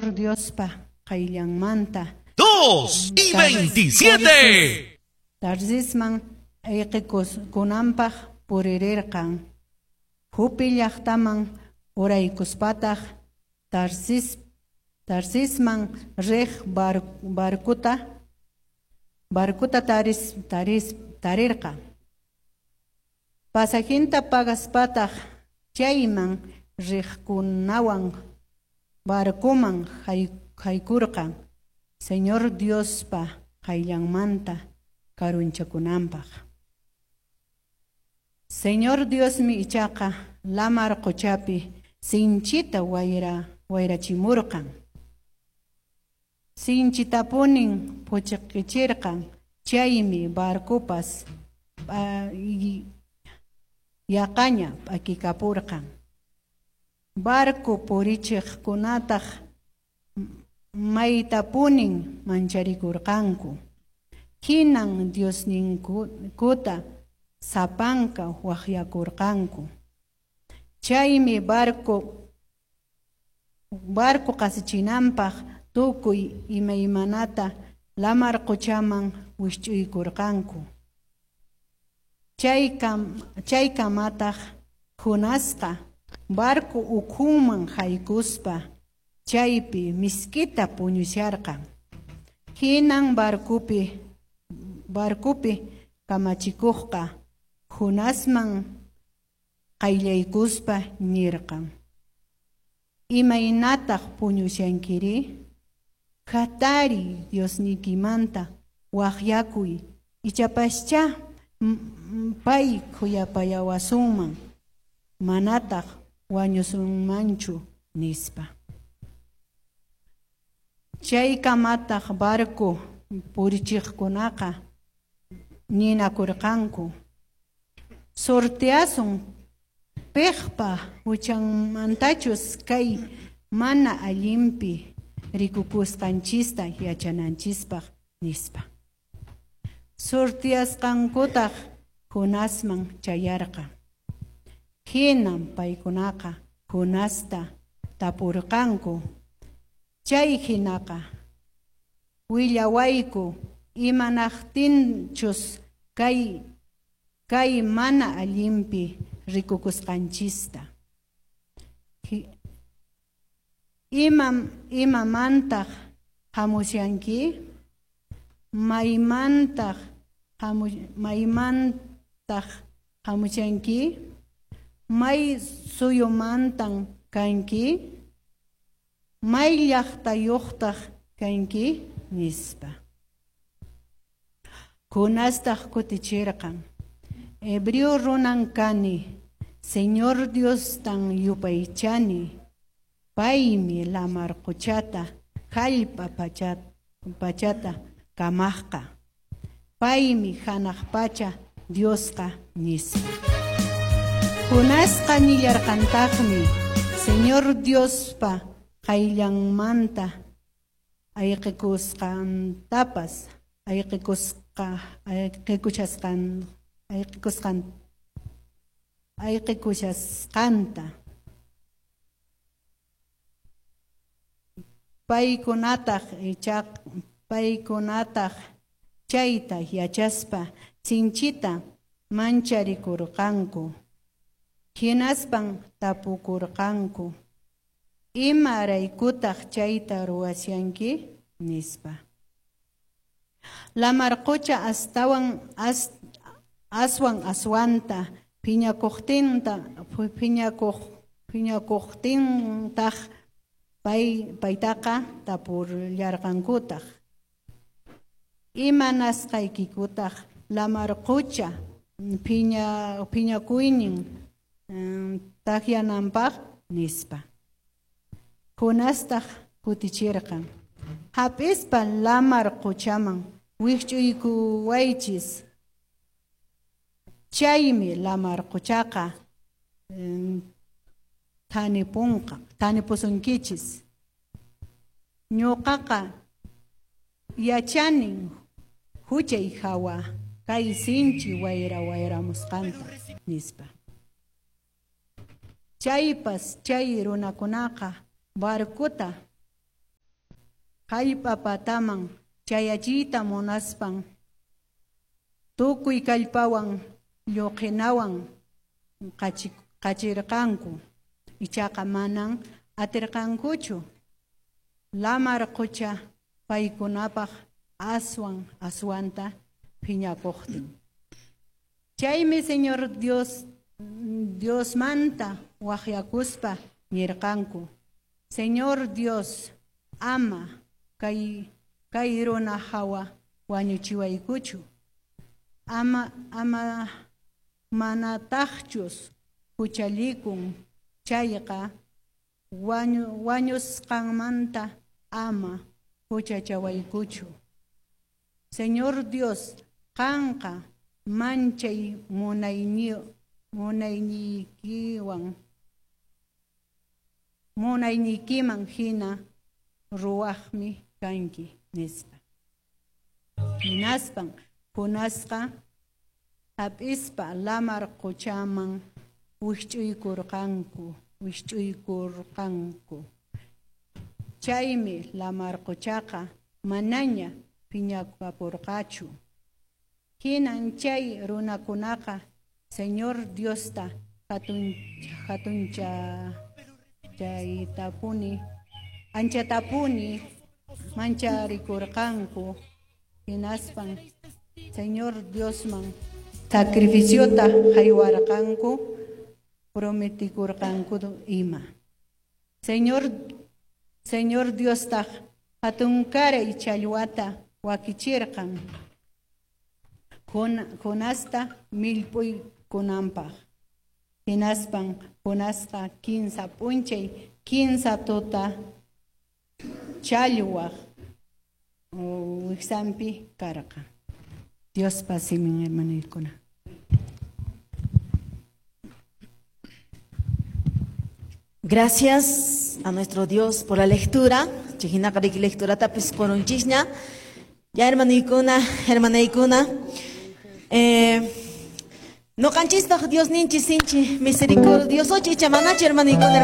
Señor Diospa qayllanmanta 2 y 27. Tarsisman ayqikunanpaq puririrqan. Jope llaqtaman uraykuspataq Tarsisman riq barcota tarirqan. Pasajinta pagaspataq chayman riqkunawan barcoman haykurqan Señor Diospa qayllanmanta karunchakunanpaq. Señor Diosmi ichaqa lamar quchapi sinchita wayrachimurqan. Sinchitapunin phuchiqichirqan, chaymi barcopas yaqaña p'akikapurqan. Barco purichiqkunataq maytapunin mancharikurqanku. Hinan Diosninkuta sapanka waqyakurqanku. Chaymi barco qasichinanpaq tukuy imaymanata lamar quchaman wisch'uykurqanku. Chaykamataq Jonasqa barco ukhunman haykuspa chaypi misk'ita puñusharqan. Hinan barcopi kamachikuqqa Jonasman qayllaykuspa nirqan: Imaynataq puñushankiri? Hatariy, Diosniykimanta waqyakuy, ichapaschá pay khuyapayawasunman, manataq wañusunmanchu, nispa. Chaykamataq barco purichiqkunaqa ninakurqanku: Sorteasun piqpa huchanmantachus kay mana allinpi rikukusqanchista yachananchispaq, nispa. Sorteasqankutaq Jonasman chayarqan. Hinan paykunaqa Jonasta tapurqanku: Chay hinaqa willawayku imanaqtinchus kay mana allinpi rikukusqanchista. Imamantaq hamushanki? Maymantaq hamushanki? May suyumantan kanki? May llaqtayuqtaq kanki? Nispa. Jonastaq kutichirqan: Hebreo runan kani, Señor Diostan yupaychani. Paymi lamar quchata, hallp'a pachata kamaqqa. Paymi hanaq pacha Diosqa, nispa. Jonasqa nillarqantaqmi Señor Diospa qayllanmanta ayqikusqantapas, ayqikushasqanta. Paykunataq chayta yachaspa sinchita mancharikurqanku. Hinaspan tapukurqanku: Imaraykutaq chayta ruwashanki? Nispa. Lamar qucha aswan aswanta phiñakuqtintaq paytaqa tapullarqankutaq: Imanasqaykikutaq lamar qucha phiñakuynin takyananpaq? Nispa. Jonastaq kutichirqan: Hap'ispa lamar quchaman wikch'uykuwaychis, chaymi lamar quchaqa thanipusunkichis. Ñuqaqa yachanin huchay hawa kay sinchi wayra wayramusqanta, nispa. Chaypas chay runakunaqa barcota Jallp'a pataman chayachiyta munaspan tukuy kallpawan lluqhinawan qachirqanku, ichaqa manan atirqankuchu. Lamar qucha paykunapaq aswan aswanta phiñakuqtin. Chaymi Señor Diosmanta waqyakuspa nirqanku: Señor Dios, ama kay runa hawa wañuchiwaykuchu, ama manataqchus huchallikun chayqa wañusqanmanta ama huchachawaykuchu. Señor Dios, qanqa manchay munayniykiman hina ruwaqmi kanki, nispa. Hinaspan Jonasqa hap'ispa lamar quchaman wikch'uykurqanku. Chaymi lamar quchaqa manaña phiñakapurqachu. Hinan chay runakunaqa Señor Diosta hatunchaytapuni anchatapuni mancharikurqanku. Hinaspan Señor Diosman sacrificiota haywarqanku, prometikurqanku ima. Señor Diostaq hatunkaray challwata wakichirqan Jonasta millp'uykunanpaq. Hinaspan Jonasqa 15 p'unchay 15 tuta challwaq wiksanpi karqa. Diospa simin, hermanoykuna. Gracias a nuestro Dios por la lectura. Lectura tapis corunchisña. Ya hermanoykuna, hermanaykuna. No canchista Dios ninchi sinchi misericordioso chicha manachi hermanoykuna.